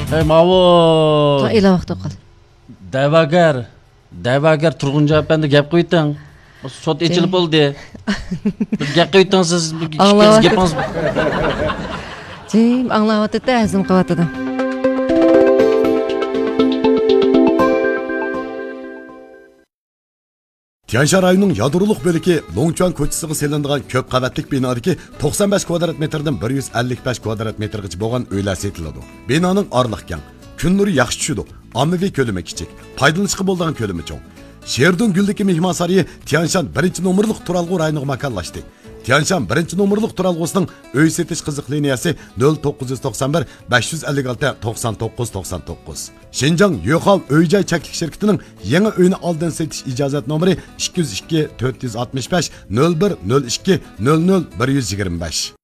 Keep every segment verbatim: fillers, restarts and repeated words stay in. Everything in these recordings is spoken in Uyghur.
ھەي، ماۋۇ. ئېلان ۋاقتى قال. دەۋاگەر، دەۋاگەر تۇرغۇنجان ئەپەندى، گەپ قىلىۋېتىڭ. سوت ئېچىلىپ بولدى. بىر گەپ قىلىۋېتىڭ سىز. بىر ئىككى گېپىڭىز. جىم ئاڭلاۋاتىدۇ، ھەزىم قىلىۋاتىدۇ. تيەنشان رايونىنىڭ يادرولۇق بۆلىكى لوڭچۈەن كوچىسىغا سېلىنىدىغان كۆپ قەۋەتلىك بىنادىكى توقسان بەش كۋادرات مېتىردىن بىر يۈز ئەللىك بەش كۋادرات مېتىرغىچە بولغان ئۆيلەر سېتىلىدۇ. بىنانىڭ ئارىلىقى كەڭ، كۈن نۇرى ياخشى چۈشىدۇ، ئاممىۋى كۆلىمى كىچىك، پايدىلىنىشقا بولىدىغان كۆلىمى چوڭ. شېردۇڭ گۈللۈكى مېھمانسارىيى تيەنشان بىرىنچى نومۇرلۇق تۇرالغۇ رايونىغا ماكانلاشتى. تيەنشان بىرىنچى نومۇرلۇق تۇرالغۇسىنىڭ ئۆي سېتىش قىزىق لىنىيەسى نۆل توققۇز يۈز توقسان بىر، بەش يۈز ئەللىك ئالتە، توقسان توققۇز، توقسان توققۇز. شىنجاڭ يۆخاۋ ئۆي جاي چەكلىك شىركىتىنىڭ يېڭى ئۆينى ئالدىن سېتىش ئىجازەت نومۇرى ئىككى يۈز ئىككى، تۆت يۈز ئاتمىش بەش، نۆل بىر، نۆل ئىككى، نۆل نۆل، بىر يۈز يىگىرمە بەش.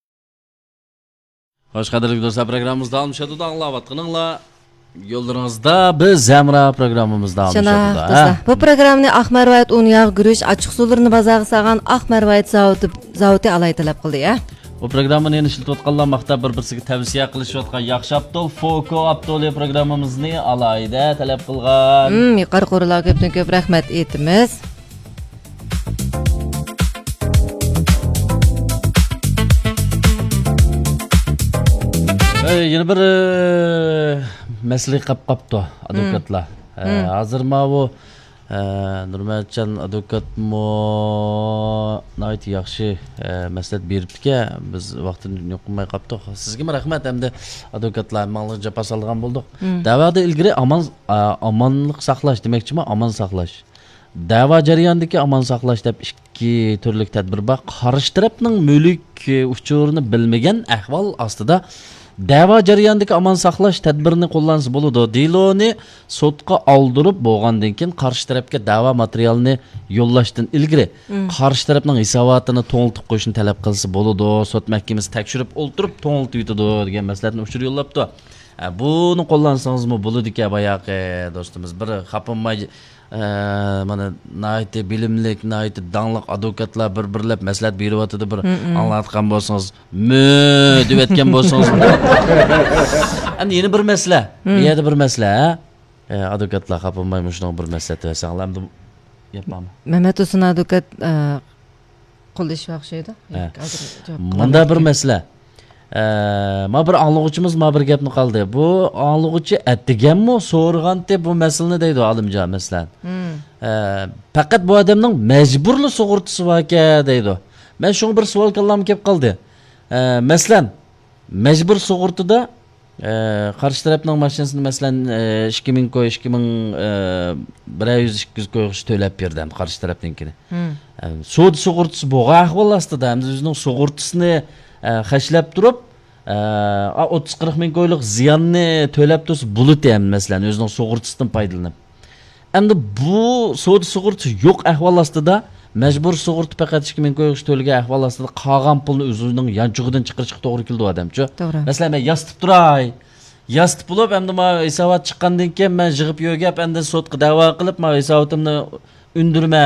خوش، قەدىرلىك دوستلار، پروگراممىمىز داۋاملىشىۋاتىدۇ. ئاڭلاۋاتقىنىڭلار يوللىرىڭىزدا بىز ھەمراھ پروگراممىمىز داۋاملىشىۋاتىدۇ. شۇنداق، ھە؟ دوستلار. بۇ پروگراممىنى ئاق مەرۋايىت ئۇن ياغ، گۈرۈچ، ئاچچىقسۇلىرىنى بازارغا سالغان ئاق مەرۋايىت زاۋۇتى، زاۋۇتى ئالاھىدە تەلەپ قىلدى، ھە؟ بۇ پروگراممىنى يەنە ئىشلىتىۋاتقانلار ماختاپ بىر-بىرسىگە تەۋسىيە قىلىشىۋاتقان ياخشى ئاپتول، فوكو ئاپتولى پروگراممىمىزنى ئالاھىدە تەلەپ قىلغان. ھىم، يۇقىرى قورۇلارغا كۆپتىن كۆپ رەھمەت ئېيتىمىز. ئەي، يەنە بىر، ئە، مەسىلە قاپ قاپتۇ، ئادۋوكاتلار. ئە، ھازىر ماۋۇ، ئە، نۇرمەتجان ئادۋوكاتمۇ ناھايىتى ياخشى، ئە، مەسلىھەت بېرىپتىكەن. بىز ۋاقتىنى يوق قىلماي قاپتۇق. سىزگىمۇ رەھمەت، ئەمدى ئادۋوكاتلار ھەممىڭلارغا جاپا سالىدىغان بولدۇق. دەۋادا ئىلگىرى ئامان، ئا، ئامانلىق ساقلاش دېمەكچىمۇ، ئامان ساقلاش. دەۋا جەريانىدىكى ئامان ساقلاش دەپ ئىككى تۈرلۈك تەدبىر بار. قارشى تەرەپنىڭ مۈلۈك ئۇچۇرىنى بىلمىگەن ئەھۋال ئاستىدا دەۋا جەريانىدىكى ئامان ساقلاش تەدبىرىنى قوللانسا بولىدۇ. دېلونى سوتقا ئالدۇرۇپ بولغاندىن كېيىن قارشى تەرەپكە دەۋا ماتېرىيالىنى يوللاشتىن ئىلگىرى قارشى تەرەپنىڭ ھېساباتىنى توڭلىتىپ قويۇشنى تەلەپ قىلسا بولىدۇ. سوت مەھكىمىسى تەكشۈرۈپ ئولتۇرۇپ توڭلىتىۋېتىدۇ دېگەن مەسلىھەتنى ئۇچۇر يوللاپتۇ. ئە، بۇنى قوللانسىڭىزمۇ بولىدىكەن، باياقى دوستىمىز بىر خاپىماي، ئە، مانا ناھايىتى بىلىملىك، ناھايىتى داڭلىق ئادۋوكاتلار بىر-بىرلەپ مەسلىھەت بېرىۋاتىدۇ، بىر ئاڭلاۋاتقان بولسىڭىز، مۆ دېۋەتكەن بولسىڭىز. ئەمدى يەنە بىر مەسىلە، بۇ يەردە بىر مەسىلە، ھە؟ ئە، ئادۋوكاتلار خاپىماي مۇشۇنىڭ بىر مەسلىھەت بەرسەڭلار، ئەمدى گەپ بارمۇ؟ مەمەت ھۇسېن ئادۋوكات، ئە، قوللىشىشقا ئوخشايدۇ. ھە. ھازىر جاۋاب قىلالمايدىكەن. مۇندا بىر مەسىلە. ئە، ما بىر ئاڭلىغۇچىمىز ما بىر گەپنى قالدى. بۇ ئاڭلىغۇچى ئەتىگەنمۇ سورىغانتى بۇ مەسىلىنى دەيدۇ، ئالىمجان، مەسىلەن. ئە، پەقەت بۇ ئادەمنىڭ مەجبۇرلا سۇغۇرتىسى باركەن دەيدۇ. مەن شۇڭا بىر سوئال كاللامغا كېلىپ قالدى. ئە، مەسىلەن، مەجبۇر سۇغۇرتىدا ئە، قارشى تەرەپنىڭ ماشىنىسىنى، مەسىلەن، ئە، ئىككى مىڭ كوي، ئىككى مىڭ، ئە، بىرەر يۈز، ئىككى يۈز كويغىچە تۆلەپ بېرىدۇ ئەمدى قارشى تەرەپنىڭكىنى. ئە، سودا سۇغۇرتىسى بولغان ئەھۋال ئاستىدا، ئەمدى ئۆزىنىڭ سۇغۇرتىسىنى، ئە، خەجلەپ تۇرۇپ، ئە، ئا، ئوتتۇز قىرىق مىڭ كويلۇق زىياننى تۆلەپ تۇرسا بولىدۇ ئەمدى، مەسىلەن، ئۆزىنىڭ سۇغۇرتىسىدىن پايدىلىنىپ. ئەمدى بۇ سودا سۇغۇرتىسى يوق ئەھۋال ئاستىدا، مەجبۇر سۇغۇرتا پەقەت ئىككى مىڭ كويغىچە تۆلىگەن ئەھۋال ئاستىدا، قالغان پۇلنى ئۆزىنىڭ يانچۇقىدىن چىقىرىشقا توغرا كېلىدۇ ئادەمچۇ. توغرا. مەسىلەن، مەن ياسىتىپ تۇراي. ياسىتىپ بولۇپ، ئەمدى ماۋۇ ھېسابات چىققاندىن كېيىن، مەن يىغىپ يۆگەپ، ئەمدى سوتقا دەۋا قىلىپ، ماۋۇ ھېسابىتىمنى ئۈندۈرمە،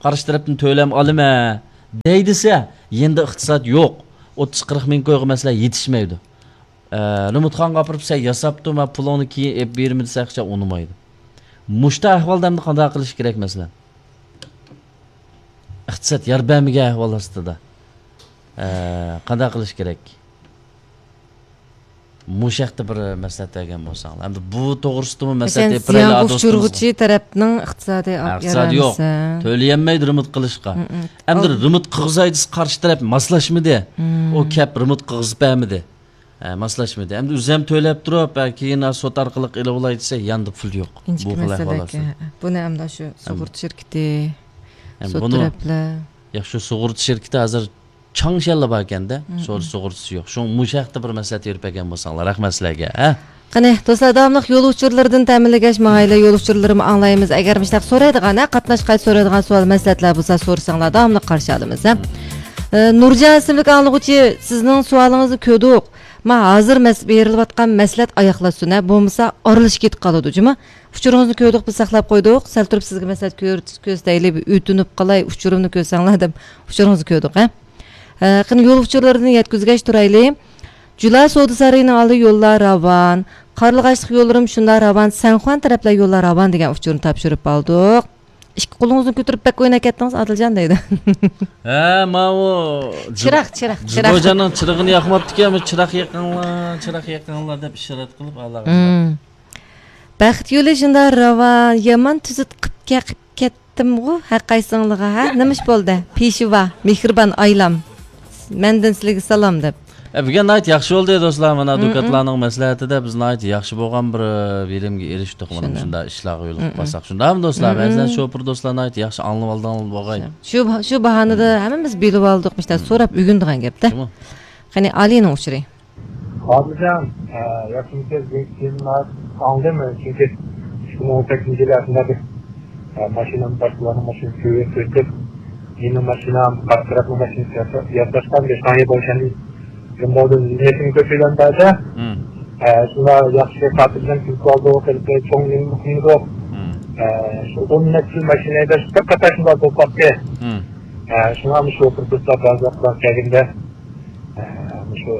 قارشى تەرەپتىن تۆلەم ئالىمەن دەي دېسە، يېنىدا ئىقتىساد يوق. ئوتتۇز قىرىق مىڭ كويغا، مەسىلەن، يېتىشمەيدۇ. ئە، رېمونتخانىغا ئاپىرىپ، سەن ياساپتۇ، مەن پۇلۇڭنى كېيىن ئېلىپ بېرىمەن دېسە، ئۇنىمايدۇ. مۇشتا ئەھۋالدا ئەمدى قانداق قىلىش كېرەك، مەسىلەن؟ ئىقتىساد يار بەرمىگەن ئەھۋال ئاستىدا، ئە، قانداق قىلىش كېرەك؟ مۇشۇ ھەقتە بىر مەسلىھەت بەرگەن بولساڭلار. ئەمدى بۇ توغرىسىدىمۇ مەسلىھەت بېرىپ بېرەيلى، زىيانغا ئۇچرىغۇچى تەرەپنىڭ ئىقتىسادى، ھە، ئىقتىسادى يارىمىسا. يوق. تۆلىيەلمەيدۇ رېمونت قىلىشقا. ئەمدى رېمونت قىلغۇزاي دېسە، قارشى تەرەپ ماسلاشمىدى. ئۇ كەپ رېمونت قىلغۇزۇپ بەرمىدى. ھە، ماسلاشمىدى. ئەمدى ئۆزى ھەم تۆلەپ تۇرۇپ، ھە، كېيىن سوت ئارقىلىق ئېلىۋالاي دېسە، ياندا پۇل يوق. ئىنچىكە بۇ خىل مەسىلە ئەھۋال ئىكەن. ئاستىدا. بۇنى ئەمدى شۇ سۇغۇرتا شىركىتى، سوت تەرەپلەر. ياق، شۇ سۇغۇرتا شىركىتى ھازىر چاڭشيەنلا باركەندە، سودا سۇغۇرتىسى يوق. شۇڭا مۇشۇ ھەقتە بىر مەسلىھەت بېرىپ بەرگەن بولساڭلار، رەھمەت سىلەرگە، ھە؟ قېنى، دوستلار، داۋاملىق يول ئۇچۇرلىرىدىن تەمىنلىگەچ ماڭايلى، يول ئۇچۇرلىرىمۇ ئاڭلايمىز. ئەگەر مۇشۇنداق سورايدىغان، ھە، قاتناش قايتا سورايدىغان سوئال، مەسلىھەتلەر بولسا سورىساڭلار، داۋاملىق قارشى ئالىمىز، ھە؟ ئە، نۇرجان ئىسىملىك ئاڭلىغۇچى، سىزنىڭ سوئالىڭىزنى كۆردۇق. ما ھازىر مەس-، بېرىلىۋاتقان مەسلىھەت ئاياغلاشسۇن، ھە، بولمىسا ئارىلىشىپ كېتىپ قالىدۇ، جۇمۇ. ئۇچۇرىڭىزنى كۆردۇق، بىز ساقلاپ قويدۇق. سەل تۇرۇپ سىزگە مەسلىھەت كۆر-، كۆرسىتەيلى، ئۆتۈنۈپ قالاي، ئۇچۇرۇمنى كۆرسەڭلار دەپ ئۇچۇرىڭىزنى كۆردۇق، ھە. ئە، قېنى يول ئۇچۇرلىرىنى يەتكۈزگەچ تۇرايلى. جۇلا سودا سارىيىنىڭ ئالدى يوللار راۋان. قارلىغاچلىق يوللىرىمۇ شۇنداق راۋان، سەنخۇەن تەرەپلەر يوللار راۋان دېگەن ئۇچۇرنى تاپشۇرۇپ ئالدۇق. ئىككى قولىڭىزنى كۆتۈرۈپ بەك ئويناپ كەتتىڭىز، ئادىلجان دەيدۇ. ھە، ماۋۇ چىراغ، چىراغ، چىراغ. جىدوجاننىڭ چىرىغىنى ياقماپتىكەن، بۇ چىراغ يېقىڭلار، چىراغ يېقىڭلار دەپ ئىشارەت قىلىپ ئالاغا. مم. بەخت يولى شۇنداق راۋان، يامان تۈزۈت قىپ كە-، قىپ كەتتىمغۇ ھەر قايسىڭلىغا، ھە؟ نېمە ئىش بولدى؟ پېشىۋا، مېھرىبان ئايلام. مەندىن سىلىگە سالام دەپ. ئە، بۈگۈن ناھايىتى ياخشى بولدى، دوستلار. مانا، مم، مم. دۇكاتلارنىڭ مەسلىھەتىدە بىز ناھايىتى ياخشى بولغان بىر، ئە، بىرىمگە ئېرىشتۇق. مانا، شۇنداق. مۇشۇنداق ئىشلارغا يولۇقۇپ، مم، مم. قالساق. شۇنداقمۇ، دوستلار؟ مم، مم. مەسىلەن، شوپۇر دوستلار ناھايىتى ياخشى ئاڭلىۋالدىڭلار بولغاي. شۇ، شۇ باھانىدا ھەممىمىز بىلىۋالدۇق، مۇشۇنداق، مم، سوراپ ئۆگىنىدىغان گەپتە. شۇمۇ؟ قېنى، ئالىينىڭ ئۇچۇرى. خاتىرجان، ئە، ياخشىمۇسىز؟ بۈگۈنكى تېمىنى ئاڭلىدىم، چۈنكى ئىككى مىڭ ئون سەككىزىنچى يىلى ئەسلىدە بىر، ئە، ماشىنام باشقىلارنىڭ ماشىنىسى كۆرۈپ ئۆتۈپ، مېنىڭ ماشىنام، قارشى تەرەپنىڭ ماشىنىسى ياساشقان بىر شاڭيې بولغان نېمىسىنى كۆرسىلەم بەردى. مم. ئە، شۇنداق ياخشى خاتىرجەم كۈلۈپ قالدۇق، چوڭ نېمە قىلمىدۇق. مم. ئە، شۇ ئون نەچچە يىل ماشىنا ھەيدەش بىر قاتار شۇنداق بولۇپ قاپتۇ. مم. ئە، شۇڭا مۇشۇ بىر دوستلار بەزى ۋاقىتلار كەلگەندە، ئە، مۇشۇ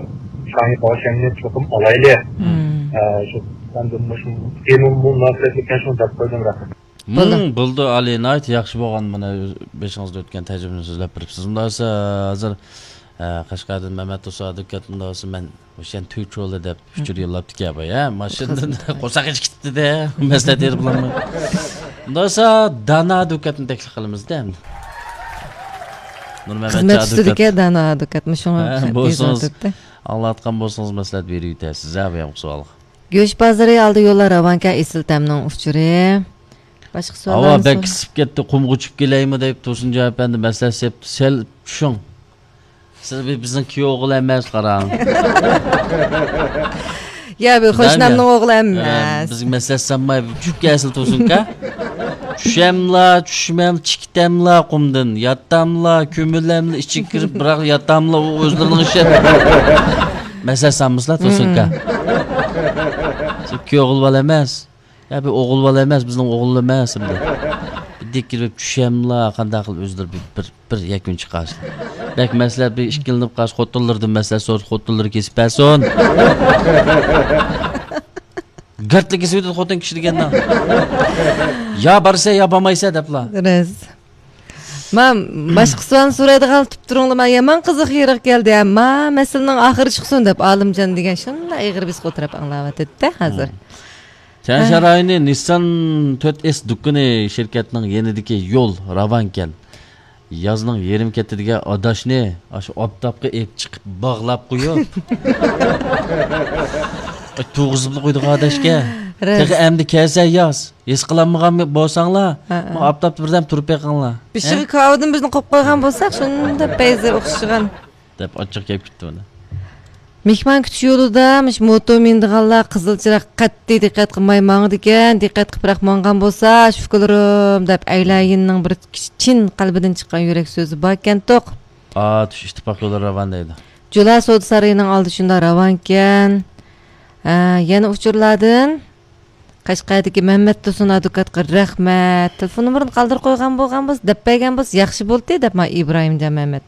شاڭيې باۋشەننى چوقۇم ئالايلى. مم. ئە، شۇ، مەن مۇشۇ تېما مۇناسىۋەتلىك شۇنى دەپ قويدۇم، رەھمەت. بولدى. مم، بولدى، ئالىي، ناھايىتى ياخشى بولغان. مانا، بېشىڭىزدا ئۆتكەن تەجرىبىنى سۆزلەپ بېرىپسىز. مۇنداق بولسا، ھازىر، ئە، قەشقەردىن مەمەت دوستلار دۇكان، مۇنداق بولسا مەن ئوشۇن تۈچولى دەپ ئۇچۇر يوللاپتىكەن، بايا. ماشىنىدىن قورساق ئېچىپ كېتىپتۇ-دە، مەسلىھەت ئېلىپ بولالماي. مۇنداق بولسا، دانا دۇكاتنى تەكلىپ قىلىمىز-دە ئەمدى. نۇرمەمەت خىزمەت ئۈستىدىكى دانا دۇكات، مۇشۇڭا ھە، بولسىڭىز، ئاڭلاۋاتقان بولسىڭىز، مەسلىھەت بېرىۋېتەرسىز، ھە، بۇ يامقۇ سوئالغا. گۆش بازىرى ئالدى يوللار راۋانكەن، ئېسىل تەمنىڭ ئۇچۇرى. باشقا سوئاللارمۇ؟ ھاۋا بەك ئىسسىپ كەتتى، قۇمغا چۈشۈپ كېلەيمۇ دەپ تۇرسۇنجان ئەپەندى مەسلىھەت سېلىپتۇ، سەل چۈشۈڭ. سىز بى-، بىزنىڭ كۈيئوغۇل ئەمەس، قاراڭ. يا، بۇ قوشنامنىڭ ئوغلى ئەمەس. بىزگە مەسلىھەت سالماي، چۈشۈپ كەلسىلا تۇرسۇنكا. چۈشەملا، چۈشمەم، چىقتەملا قۇمدىن. ياتاملا، كۆمۈلەملا، ئىچىگە كىرىپ، بىراق ياتاملا، ئۇ ئۆزلىرىنىڭ ئىشى. مەسلىھەت سالمىسىلا تۇرسۇنكا. سىز كۈيئوغۇل بالا ئەمەس. يا، بۇ ئوغۇل بالا ئەمەس، بىزنىڭ ئوغۇل ئەمەس ئەمدى. بىردەك كىرىپ چۈشەملا، قانداق قىلىپ ئۆزلىرى بىر، بىر، بىر يەكۈن چىقارسىلا. بەك مەسلىھەت، بىر ئىككىلىنىپ قالسا، خوتۇنلىرىدىن مەسلىھەت سورىسا، خوتۇنلىرى كېسىپ بەرسۇن. گارتلا كېسىۋېتىدۇ خوتۇن كىشى دېگەندە. يا بارسا، يا بارمايسا دەپلا. راست. ما، باشقا سوئالنى سورايدىغان تۇپتۇرۇڭلار، ما يامان قىزىق يېرىغا كەلدى، ھە، ما مەسىلىنىڭ ئاخىرى چىقسۇن دەپ، ئالىمجان دېگەن شۇنداق ئېغىر بېسىق ئولتۇرۇپ ئاڭلاۋاتىدۇ ھازىر. مم. چيەنشەن رايونى نىسسان تۆت ئېس دۇكىنى شىركەتنىڭ يېنىدىكى يول راۋانكەن. يازنىڭ يېرىم كەتتى دېگەن ئاداشنى ئاشۇ ئاپتاپقا ئېلىپ چىقىپ باغلاپ قويۇپ، ئاي، تۇرغۇزۇپلا قويدۇق ئاداشكە. راست. تېخى ئەمدى كەلسە ياز. ھېس قىلالمىغان بولساڭلار، ھە، ھە، ما ئاپتاپتا بىردەم تۇرۇپ بېقىڭلار. بېشىغا ھە؟ كاۋىدىن بىزنى قويۇپ قويغان بولساق، شۇنداق پەيزى ئوخشىغان. دەپ ئاچچىق كەپ كېتىپتۇ مانا. مېھمان كۈتۈش يولىدا مۇشۇ موتور مىنىدىغانلار قىزىل چىراغ قەتئىي دىققەت قىلماي ماڭىدىكەن، دىققەت قىلىپراق ماڭغان بولسا، شۈكۈرلىرىم دەپ ئەيلەيىننىڭ بىر چىن قەلبىدىن چىققان يۈرەك سۆزى باركەنتۇق. ئاتۇش ئىتتىپاق يولى راۋان دەيدۇ. جۇلا سودا سارىيىنىڭ ئالدى شۇنداق راۋانكەن. ھە، يەنە ئۇچۇرلاردىن. قەشقەردىكى مەمەت تۇرسۇن ئادۋوكاتقا رەھمەت. تېلېفون نومۇرىنى قالدۇرۇپ قويغان بولغان بولسا، دەپ بەرگەن بولسا ياخشى بولدى دەپ، ما ئىبراھىمجان مەمەت.